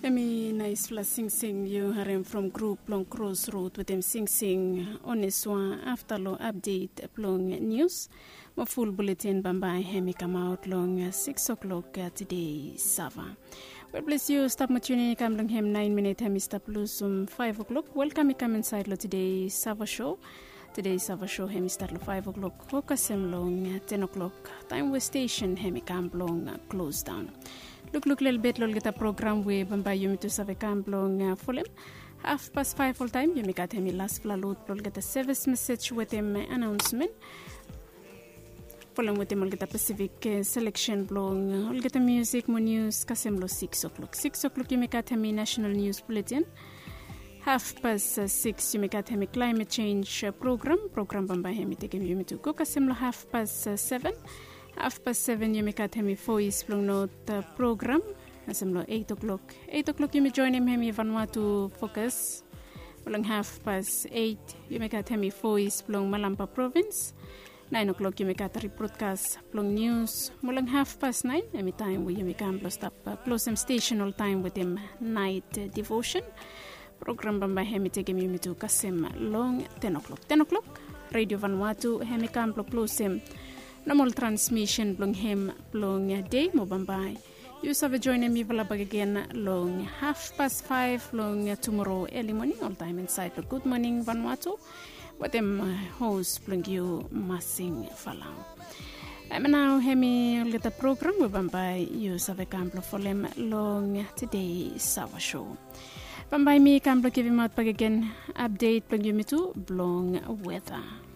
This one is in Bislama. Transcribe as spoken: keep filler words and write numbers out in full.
Hemi naispela singsing yu harim from grup blong Crossroad wetem singsing Onesua. Afta long apdet blong nius mo ful buletin bambae hemi kamaot long siks o'klok tede Sava. Wel, plis yu stap mo tiunin i kam long hem naen minit hemi stap lusum faef o'klok. Welkam i kam insaed long tede Sava Show. Tede Sava Show hemi stat long faef o'klok go kasem long ten o'klok, taem we stesen hemi kam blong klosdaon. Lukluk lelebet long olgeta program we bambae yumi tu save kam blong folem. Hafpas faef oltaem yumi gat hemi laspela lod blong olgeta sevis mesej wetem anaonsmen. Folem wetem olgeta Pasifik seleksen blong olgeta miusik mo nius kasem long siks o'klok. Siks o'klok yumi gat hemi nasenal nius buletin. Hafpas siks yumi gat hemi klaemet sens program. Program bambae hemi tekem yumi tu go kasem long hafpas seven. Hafpas seven yumi gat hemi Voes blong Not program kasem long eit o'klok. Eit o'klok yumi joenem hemi Vanuatu Fokas. Mo long hafpas eit yumi gat hemi Voes blong Malampa provins. Naen o'klok yumi gat ribrodkas blong nius. Mo long hafpas naen hemi taem we yumi kam blong stap klosem stesen oltaem wetem naet devosen. Program bambae hemi tekem yumi tu kasem long ten o'klok. Ten o'klok Redio Vanuatu hemi kam blong klosem nomol transmisen blong hem blong dei. Mo bambae yu save joenem mifala bakegen long hafpas faef long tumoro eli moning oltaem insaed long Gud Moning Vanuatu wetem hos blong yu Masing Falau. Em nao hemi olgeta program we bambae yu save kam blong folem long tede Sava Show. Bambae mi kam blong givimaot bakegen apdet blong yumi tu blong weta.